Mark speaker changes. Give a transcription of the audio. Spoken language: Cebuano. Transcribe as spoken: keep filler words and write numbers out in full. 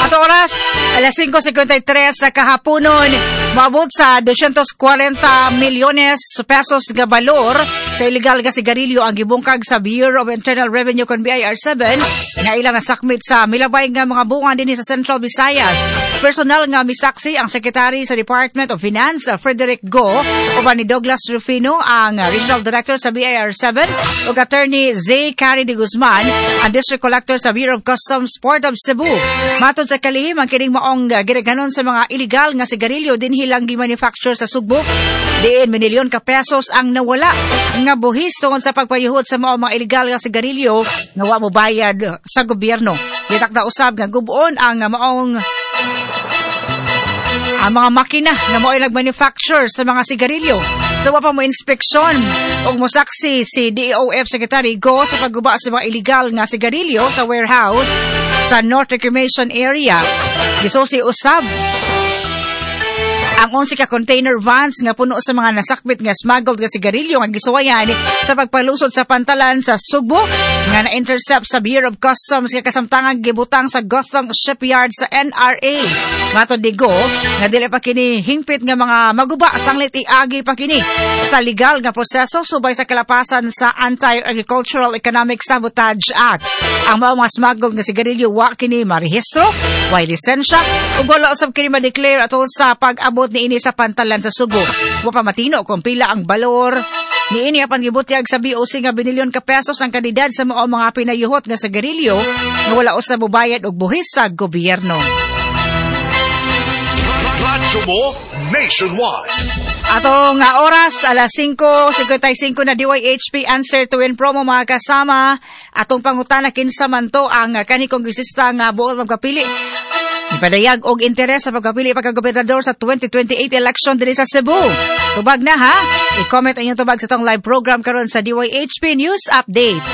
Speaker 1: Ato oras, alas singko singkwenta y tres sa kahaponon, moabot sa dosyentos kwarenta milyones pesos nga balor sa illegal nga sigarilyo ang gibungkag sa Bureau of Internal Revenue kon B I R seven nga ilang nasakmit sa milabay nga mga bunga dinhi sa Central Visayas. Personal nga misaksi ang Secretary sa Department of Finance, Frederick Go, uban ni Douglas Rufino, ang Regional Director sa B I R seven, ug Attorney Zay Cary de Guzman, ang District Collector sa Bureau of Customs Port of Cebu. Matod sa kalihim, ang kining maong gidaghanon sa mga illegal nga sigarilyo dinhi lang gi-manufacture sa Sugbo. Diin minilyon ka pesos ang nawala nga buhis tungod sa pagpayuhot sa mga mga illegal nga sigarilyo nga wa mo bayad sa gobyerno. Gitakda usab nga guboon ang maong ang mga makina nga mao'y nag-manufacture sa mga sigarilyo. Sa wa pa mo inspeksyon ug mosaksi si D O F Secretary Go sa pagguba sa mga illegal nga sigarilyo sa warehouse sa North Reclamation Area. Gisusi usab ang onse ka container vans nga puno sa mga nasakbit nga smuggled nga sigarilyo nga gisuwayan sa pagpalusot sa pantalan sa Sugbo nga na-intercept sa Bureau of Customs nga kasamtangang gibutang sa Gothong Shipyard sa N R A. Matod ni Go, nga dili pa kini hingpit nga mga maguba, sanglit iagi pa kini sa legal nga proseso subay sa kalapasan sa Anti-Agricultural Economic Sabotage Act. Ang mga mga smuggled nga sigarilyo, wa kini marehistro, way lisensya, ug wala usab kini ma-declare atol sa pag-abot niini sa pantalan sa Sugbo. Wa pa matino kung pila ang balor niini, apan gibutyag sa B O C nga binilyon ka pesos ang kantidad sa mga mga pinayuhot nga sigarilyo nga wala usab mobayad og buhis sa gobyerno.
Speaker 2: Radyo mo nationwide.
Speaker 1: Ato nga oras, alas singko singkwenta y singko na. D Y H P Answer to Win promo, mga kasama. Atong pangutana, kinsa man to ang kani kongresista nga buot magpapili? Ipadayag og interes sa pagpapili pagka-gobernador sa twenty twenty-eight election dinhi sa Cebu. Tubag na ha. I-comment ang inyong tubag sa atong live program karon sa D Y H P News Updates.